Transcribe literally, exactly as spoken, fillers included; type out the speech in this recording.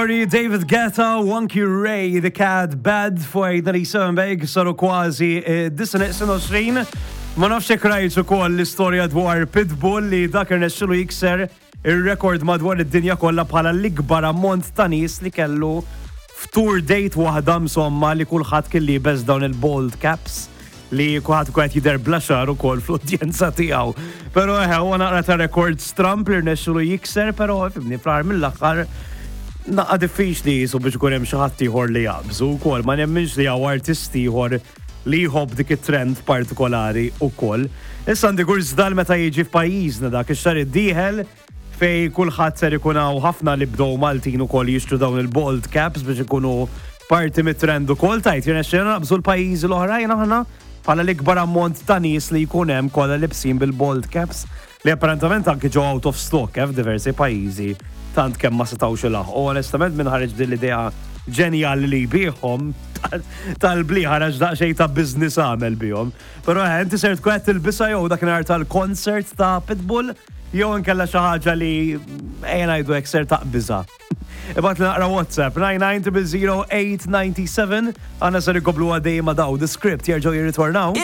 David Guetta, Wonky Ray, The Cat, Bad for eight ninety-seven Beg, saru kważi eh, disgħa neqsin għoxrin. Ma nafx jekk rajt ukoll l-istorja dwar Pitbull li dak irnexxielu jikser ir-rekord madwar id-dinja kollha bħala l-ikbar ammont ta' nies li kellu f'tour date waħda, insomma, li kulħadd kien liebes dawn il-bald caps li kulħadd qed jidher bla xagħar ukoll fl-udjenza tiegħu. Però eħe, huwa naqra ta' rekord stramp li rnexxielu jikser, però ifhimni, fl-aħħar mill-aħħar naqra diffiċli jisu biex ikun hemm xi ħadd ieħor li jaqbżu wkoll, ma nemminx li hawn artisti ieħor li jħobb dik it-trend partikolari ukoll. Issa għandi kurżità meta jiġi f'pajjiżna dak ix-xahar id-dieħel fej kulħadd ser ikun hawn ħafna li bdew Maltin ukoll jixtru dawn il-bald caps biex ikunu parti mit-trend ukoll, tajt jirnexxilna naqbżu l-pajjiżi l-oħrajn aħna bħala l-ikbar ammont ta' nies li jkun hemm kollha libsin bil-bald caps li apparentament anki ġew out of stock eh, f'diversi pajjiżi tant kemm ma setgħux ilaħqu. U onestament, minn ħareġ din l-idea ġenjali li jbigħhom tal-bli ħareġ daqsxejn ta' business għamel bihom. Però eh, inti ser tkun qed tilbisha jew dakinhar tal-concert ta' Pitbull jew inkella xi ħaġa li ejja ngħidu hekk ser taqbiżha? Ibgħatli naqra WhatsApp nine nine zero zero eight nine seven. Għana ser ikomplu għaddej ma' daw The Script jerġgħu jirritornaw.